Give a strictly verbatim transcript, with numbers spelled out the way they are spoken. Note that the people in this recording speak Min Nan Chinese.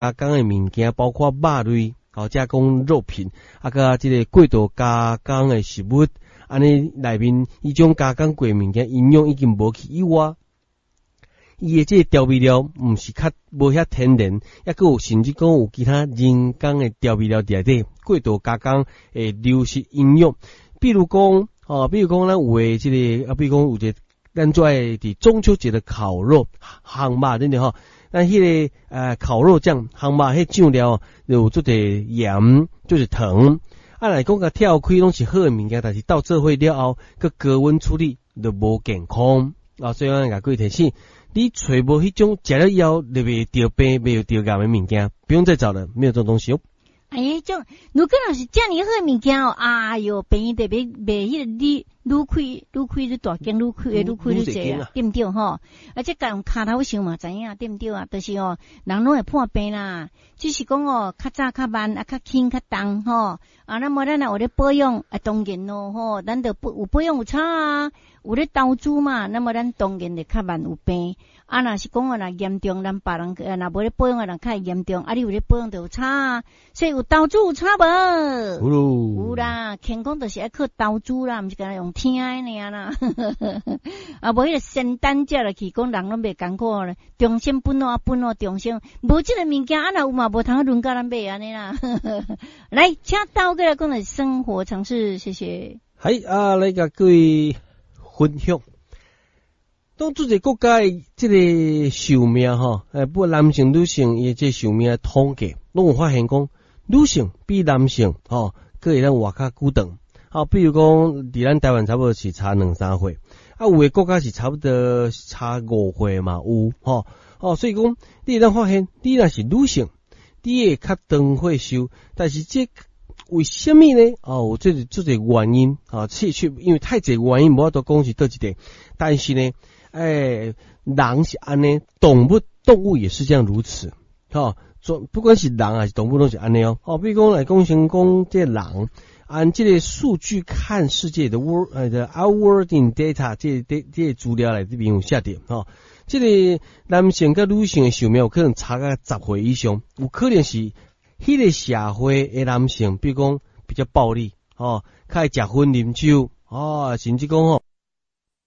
加工的物件，包括肉類，吼，加工肉品，啊，佮這个過度加工的食物，按呢內面彼種加工過的物件，營養已經無去以外，伊的這个調味料毋是較無遐天然，抑閣有甚至講有其他人工的調味料佇內底，過度加工會流失營養。比如講，吼，比如講咱有的這个，啊，比如講有一个咱最愛佇中秋節的烤肉，烘肉對毋對吼？咱彼个呃烤肉醬，烘肉彼醬料有足濟鹽，就是糖。啊，來講共拆開攏是好的物件，但是鬥做伙了後，閣高溫處理就無健康。啊，所以咱共各位提醒，你揣無彼種食了以後就袂著病、袂著癌的物件，不用再找了，沒有這種東西哦。哎呀，種如果若是遮爾好的物件哦，哎喲，病院特別賣彼個愈愈開愈開愈大間，愈開愈開愈濟啊，對毋對吼？啊，這共用跤頭想嘛知影，對毋對啊？就是哦，人攏會破病啦，只是講哦，較早較慢，啊，較輕較重吼。啊，那麼咱若有咧保養，啊，當然咯吼，咱著有保養有差啊，有咧投資嘛，那麼咱當然會較慢有病。啊，若是講哦，若嚴重，咱別人若無咧保養的人較會嚴重，啊，你有咧保養就有差啊。所以有投資有差無？有咯。有啦，健康就是愛靠投資啦，毋是干焦用聽的爾啦。啊，無彼个仙丹食落去，講人攏袂艱苦咧，長生不老不老長生，無這个物件，啊，若有嘛無通輪到咱買按呢啦。來，請導過來講的生活常識，謝謝。係啊，來共各位分享。當做一個國家的這个壽命吼，欸，不管男性、女性，伊這壽命統計，攏有發現講，女性比男性吼，閣會當活較久長。好，比如講，佇咱台灣差不多是差兩三歲，啊，有的國家是差不多差五歲嘛有吼。哦，所以講，你會當發現，你若是女性，你會較長歲壽，但是這為啥物呢？哦，有這個這個原因，啊，確實因為太濟原因，無法度講是佗一個。但是呢，欸，人是按呢，動物動物也是這樣如此，吼，做不管是人還是動物攏是按呢哦。哦，比如講來講先講這人，按這个數據看世界的 world，呃的 Our World in Data 這個這這個資料內底面有寫著，吼，這个男性佮女性的壽命有可能差甲十歲以上，有可能是彼个社會的男性，比如講比較暴力，吼，較愛食薰啉酒，哦，甚至講吼。